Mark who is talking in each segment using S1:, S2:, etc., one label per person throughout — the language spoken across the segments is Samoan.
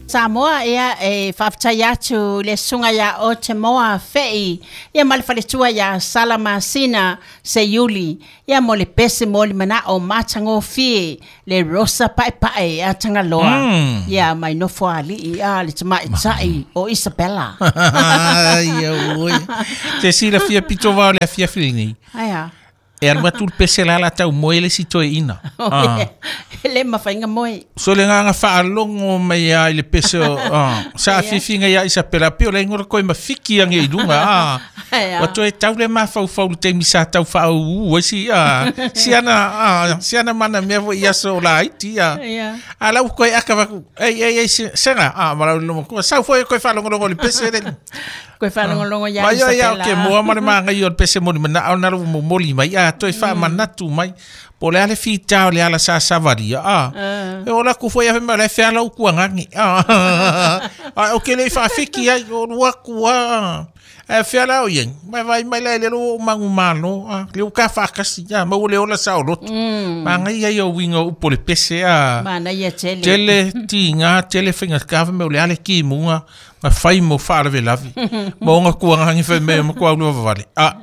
S1: Samoa, ia, e faafetai atu i le Susuga ia Otemoa Fei, ia ma le faletua ia Sala Masina Seiuli, ia mo le pese mo le manao matagofie le Rosa Paepae a Tagaloa, ia mai Nofoalii a le tamaitai o Isabella.
S2: Ai, oi. Te silafia pito vao le afiafi lenei.
S1: Ai a.
S2: E alu atu le pese la la tau moe le isi toeaina.
S1: Ah. E le mafai ona moe.
S2: So le agaga faalogo mai lava i le pese o ah, sa afiafiga ia Isapela pei o le igoa koe mafiki age i luga ah. Ua toe tau le mafaufau i le taimi sa tau faauu ai si ah, si ana ah, si ana mana mea foi i aso o laiti ah. A la ua koe aka vaku, ei ei ei sega ah ma lau loma kua sau foi koe faalogologo i le pese le.
S1: Koe faalogologo ia
S2: Mai o ia o ke moa ma le magai o le pese moli mana o na lo momoli mai a toe faamanatu mai. Po o le a le fita o le ala sa savalia a. E ola ku foi a mai le feala uku angagi. A a o ke le faafiki ai o lua ku a. E feala o ia. Mai vai mai le le lo mangu malo a. Le uka faakasi a mau le ola sa o loto. Magai ai o winga upo le pese a.
S1: Manaia tele.
S2: Tele tiga tele faiga kava me o le ale kimuga ma fai mo faalavelave ma ona kuaga fai mai ma kua lua vale a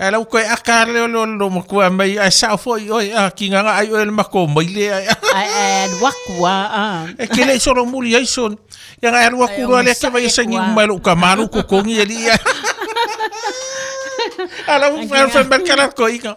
S2: e lau koe aka le lo lo ma kua mai ai sa foi oi a kinga nga ai oi le mako mai le ai
S1: Ai ai alu aku a. a.
S2: E ke le solo muli ai son ya nga alu aku lo le ke vai sengi mai lo ka malu ko kongi ali ala u fa fa mai kala ko ika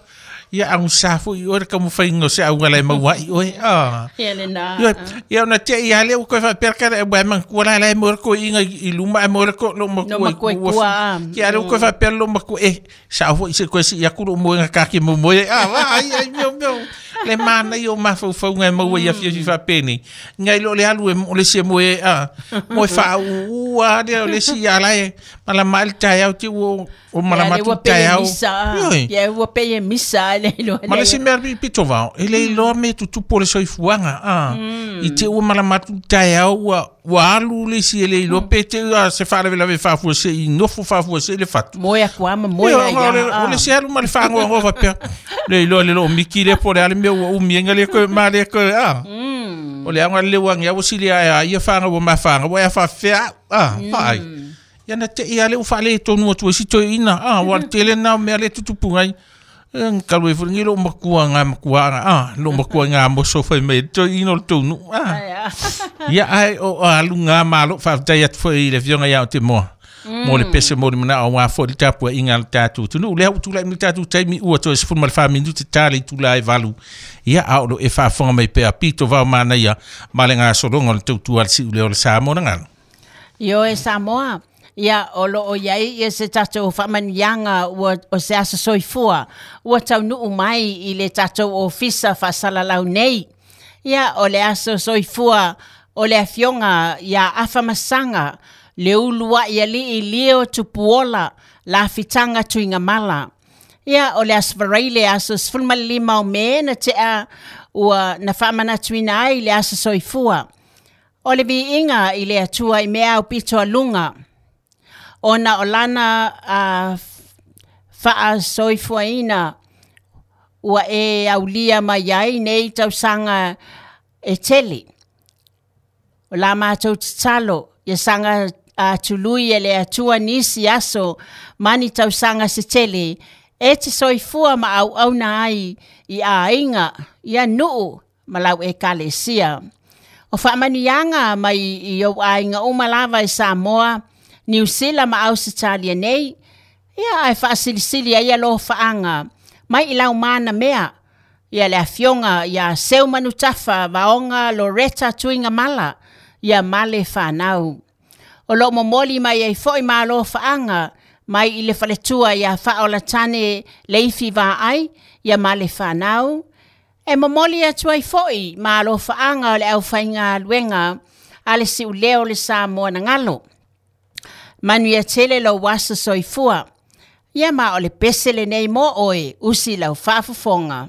S2: ia angu sa foi oi ka mo fai ngo se au le mau ai oi a.
S1: Ia le na.
S2: Ia, ia ona te ia le u koe fa per kare e man kua la la mo ko inga i luma e mo ko lo mo
S1: No ma koe kua, ah.
S2: Ki ale u koe fa per lo ma ko e sa fo i se koe si ia ku lo mo nga ka ki mo mo e ah va ai ai meo meo le mana i o mafaufau ngai maua ia fia fi faapeni ngai lo le alu e mo le se mo e a mo e fa u a le o le si ala e malama ai le taeao te ua o malama
S1: Ia, le
S2: atu
S1: ua
S2: le
S1: pei e
S2: taeao
S1: misa.
S2: Ioe.
S1: Ia ua pei e misa le iloa
S2: Ma le
S1: le.
S2: isi mea pito vao, e le iloa me tutupu o le soifuaga, a. I te ua malama atu le taeao ua, ua alu le isi e le iloa pe te ua se faalavelave faafuasei i nofo faafuasei le fatu.
S1: Moe aku a ma moe
S2: Ia,
S1: ai
S2: o le,
S1: a.
S2: o le isi alu ma le faagoagoa faapea, le iloa le loo miki lea po o le a le mea ua umi ai le koe ma le koe, a. O le aoga le ua age ua sili ae a ia faga ua mafaga ua e faafefea au, a, vaai. Ia na te ia le ua faaletonu atu ai si toeaina, a, ua le tele na o mea le tutupu ngai. E, kalu e fuli lo makua ngā makua nga, a, lo makua ngā moso fai mai toeaina o le tonu, a. Ia ai o alu ngā malo faafetai atu foi i le afioga ia o te moa. Mo le pese mo le manao wā foi le tapua inga le tātou tunu. Lea ua tulai mai le tātou taimi ua toe 14 minute ta le itula e valu. Ia a o lo e faafofoga mai pea pito vao manaia ma le gasologa o le tautua a le si'uleo o le Samoa na galo.
S1: Ioe Samoa, ia o lo o iai ia se tatou faamanuiaga ua o se aso soifua ua taunuu mai i le tatou ofisa faasalalau nei. Ia o le aso soifua o le afioga ia Afamasaga le uluai alii Leo Tupuola Lafitaga Tuigamala. Ia o le aso Faraile aso 15 o Me na tea ua na faamanatuina ai le aso soifua. O le viiga i le Atua i mea aupito a luga. Ona o lana a faasoifuaina ua e aulia mai ai nei tausaga e tele. O la matou tatalo, ia saga tului e le Atua nisi aso ma ni tausaga se tele, e te soifua ma auauna ai i aiga, ia nuu ma lau ekalesia. O faamanuiaga mai i ou aiga uma lava i Samoa, Niu Sila ma Ausetalia nei, ia ae faasilisili ai alofaaga mai i lau mana mea, ia le afioga ia Seu Manutafa Vaoga Loretta Tuigamala, ia ma le fanau. O loo momoli mai ai foi ma alofaaga mai i le faletua ia Faaolatane Leifi Vaai, ia ma le fanau. E momoli atu ai foi ma alofaaga o le aufaigaluega a le siuleo o le Samoa na galo. Manuia tele lou aso soifua. Ia ma o le pese lenei mo oe, usi lau faafofoga.